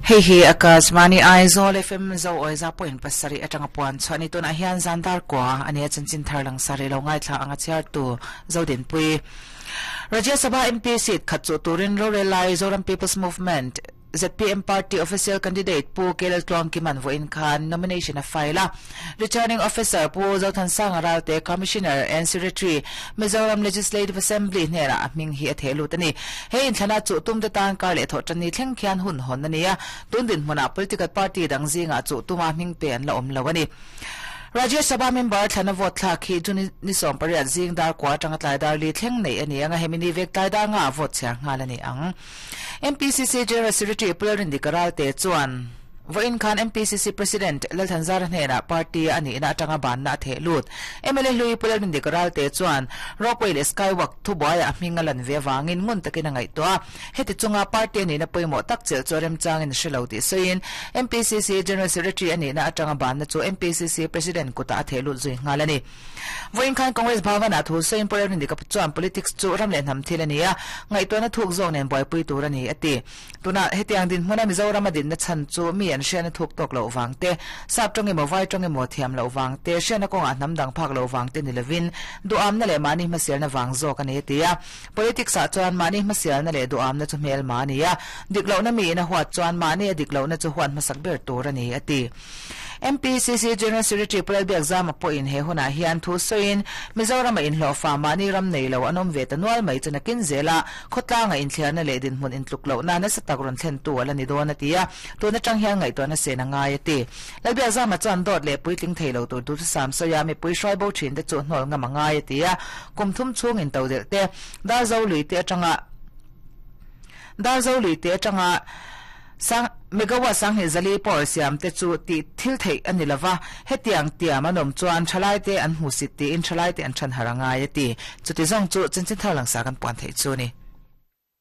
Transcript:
Hei hi Akashvani Aizawl FM Zo Awiza point pasarih atanga puan chhuah a ni. Tunah hian zan dar kua a nia chanchin thar langsar i lo ngaithla ang a chhiartu Zodinpui. Rajya Sabha MP seat khat chuh turin rorel lai Zoram People's Movement, zpm party official candidate Pu KL Tluangkiman vawiin khan nomination a file a. Returning Officer Pu Zothansanga Ralte, Commissioner and Secretary, Mizoram Legislative Assembly hnenah a hming hi a theh lut a ni. He inthlana chuh tumte tan kar leh thawh tanni thleng khian hun hawn a ni a, tun dinhmunah political party dang zingah chuh tuma hming pe an la awm lo a ni. Rajya Sabha member thlana vote thlak hi June ni 18 zing dar kua atanga tlai dar li thleng neih a ni ang a, hemi ni vek tlai dar ngaah vote chhiar nghal a ni ang. MPCC General Secretary Pu Lalrindika Ralte chuan vawiin khan MPCC President Lalthanzara hnenah party a nihna atanga banna a theh lut. Mla hlui Pu Lalrindika Ralte chuan Ropeway leh Skywalk thubuaiah a hming a lan ve avangin ngun takin a ngaihtuah a. Heti chunga party a nihna pawimawh tak chelh chu a remchangin a hre lo tih sawiin MPCC General Secretary a nihna atanga banna chu MPCC President kutah a theh lut zui nghal a ni. Vawiin khan Congress Bhavan-ah thu sawiin Pu Lalrindika chuan politics chu ram leh hnam thil a ni a, ngaihtuahna thuk zawk nen buaipui tur a ni, a ti. Tunah hetiang dinhmuna Mizoram a dinna chhan chu mi an hriatna thuk tawk loh vang te, sap tawng emaw vai tawng emaw thiam loh vang te, hriatna kawngah hnam dang phak loh vang te ni lovin duhamna leh mahni hmasialna vang zawk a ni, a ti a. Politics-ah chuan mahni hmasialna leh duhamna chu hmelma a ni a, dik lohna miin a huat chuan mahni a dik lohna chu huat hmasak ber tur a ni, a ti. MPCC General Secretary Pu Lalbiakzama pawhin he hunah hian thu sawiin, Mizorama inhlawhfa mahni ram nei lo an awm ve ta nual mai chu nakin zela khawtlanga inthliarna leh dinhmun intluk lohna nasa tak rawn thlentu a la ni dawn a ti a, tun atang hian ngaihtuahna sen a ngai a ti. Lalbiakzama chuan dawt leh puitling thei lo tur duhthusam sawia mipui hruai bo thin te chu hnawl ngam a ngai a ti a, kum thum chhung intodelh te, Darzo lui te atanga Darzo lui te atanga Sang, Megawatt sanghnih zali power siam te chu tih thil theih a ni lova, hetiang tiam an awm chuan thalaite an hmuhsit tiin thalaite an than har a ngai a ti. Chuti zawng chu chanchin thar langsar kan puan theih chu a ni.